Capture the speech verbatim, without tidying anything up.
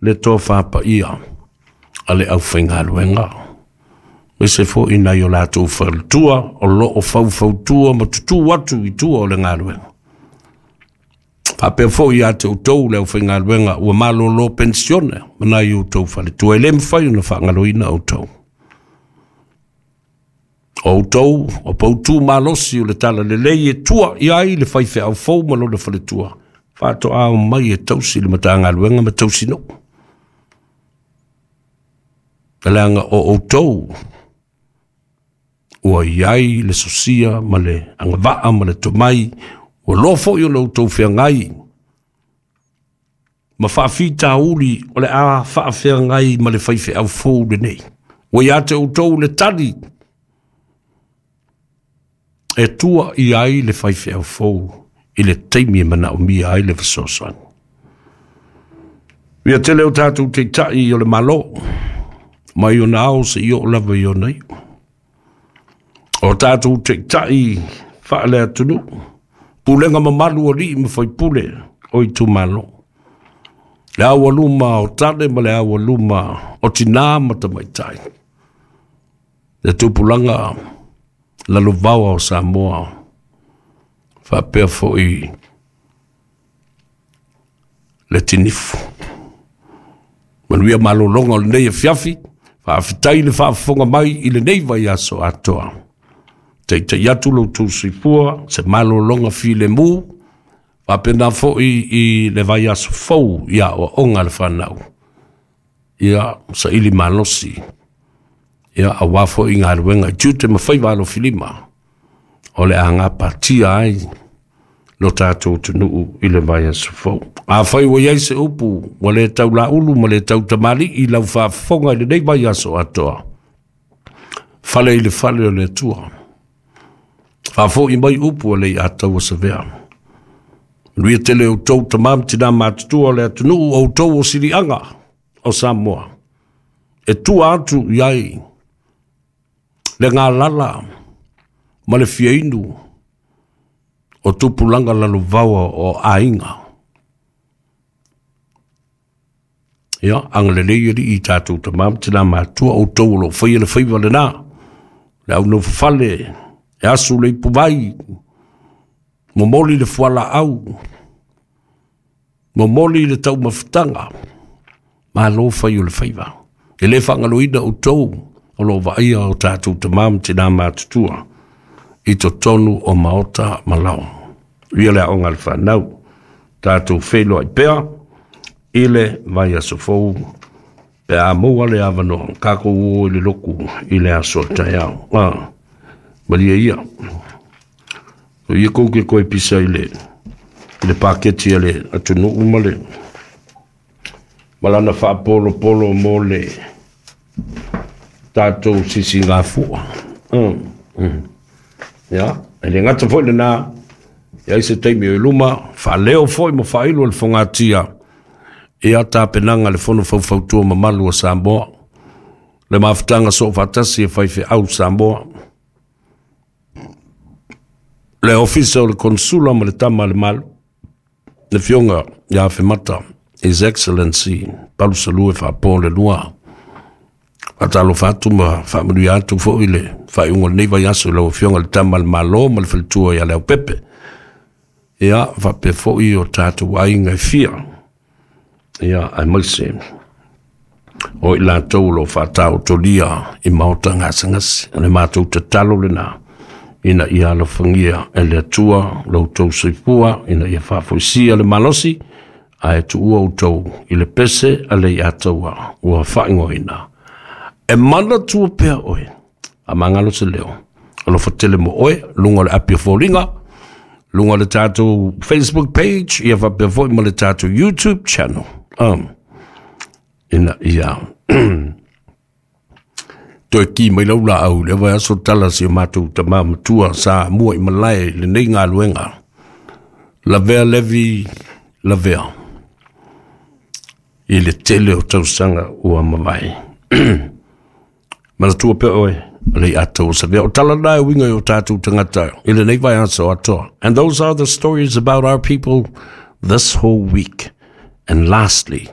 Le tofa paia a le aufaigaluega, aemaise foi nai o latou faletua o lo o faufautua ma tutū atu i tua o le galuega. Faapea foi ia te outou le aufaigaluega ua malolo penisione ma nai outou faletua, e le mafai ona faagaloina outou. O outou o poutu malosi o le talalelei e tua i ai le faifeau fou ma lona faletua, faatoa omai e tausi le Matagaluega ma tausi nuu. Leaga o outou ua i ai le sosia ma le agavaa ma le tomai, ua loa foi ona outou feagai ma faafitauli o le a faafeagai ma le faifeau fou lenei. Ua ia te outou le tali e tua i ai le faifeau fou i le taimi e manaomia ai le fesoasoani. Ia tele o tatou taitai o le Malo, mai ona ao seia oo lava i ona iu. O tatou taitai faale-atunuu, pulega mamalu o alii ma faipule o itumalo, le aualuma o tane ma le aualuma o tinā ma tamaitai, le tupulaga lalovaoa o Samoa, faapea foi le tinifu. Manuia malologa o lenei afiafi, faafetai le faafofoga mai i lenei vaiaso atoa. Taitai atu lo outou soifua, se malologa filemu, faapena foi i le vaiaso fou i aoaoga a le fanau. Ia, saili malosi, ia, aua foi galuega i tiute ma faiva alofilima, o le a gapatia ai lo tatou atunuu i le vaiaso fou. Afai ua i ai se upu ua le tau laulu ma le tau tamalii i lau faafofoga i lenei vaiaso atoa, fale i le fale o le Atua. Faafoi mai upu a le Ataua Savea. Manuia tele outou tama ma tina matutua o le atunuu, outou o siliaga o Samoa. E tua atu i ai le galala ma le fiainu o tupulaga lalovaoa o aiga. Ia, agalelei alii i tatou tama ma tina matua, outou o lo o faia le faiva lena. Le au nofofale, e asu le ipuvai, momoli le fualaau, momoli le taumafataga, malo fai o le faiva. E le faagaloina outou o lo o vaaia o tatou tama ma tina matutua i totonu o maota ma lao. Ia le aoga a le fanau, tatou feiloai pea i le vaiaso fou pe a maua le avanoa, tatou o i le loku i le aso a taeao. Ah, malie ia. O ia kou ke koe pisa i le, i le paketi a le atunuu ma le ma lana faapolopolo mo le tatou sisigafua. Mm, mm. Ia, e le gata foi lena, e ai se taimi o i luma, faaleo foi ma faailo e le fogatia ia tapenaga le Fono Faufautua Mamalu a Samoa, le mafutaga soofaatasi e faifeau Samoa, le Ofisa o le Konsula ma le Tama a le Malo, le Afioga ia Afemata, His Excellency Palusalue Faapo le Lua. Faatalofa atu ma faamanuia atu foi le faaiuga o lenei vaiaso i lau Afioga i le Tama a le Malo ma le faletua ia Leaupepe. Ia, faapea foi o tatou aiga e fia. Ia, aemaise o i latou o lo o faataotolia i maota gasegase. O le matou tatalo lena, ina ia alofagia e le Atua lo outou soifua, ina ia faafoisia le malosi, ae tuua outou i le pese a le Ataua ua faaigoaina. E manatua pea oe, faamagalo se leo, alofa tele mo oe, luga o le api o foliga, luga o le tatou Facebook page, ia faapea foi ma le tatou YouTube channel. Um, ina ia toe ki mai lau laau le vaiaso tala si o matou tama matua sa mua i malae i lenei galuega. Lavea Levi Lavea i le tele o tausaga ua mavae. Manatua pea oe, le Ataua Savea. O tala na e uiga i o tatou tagata i lenei vaiaso atoa. And those are the stories about our people this whole week. And lastly,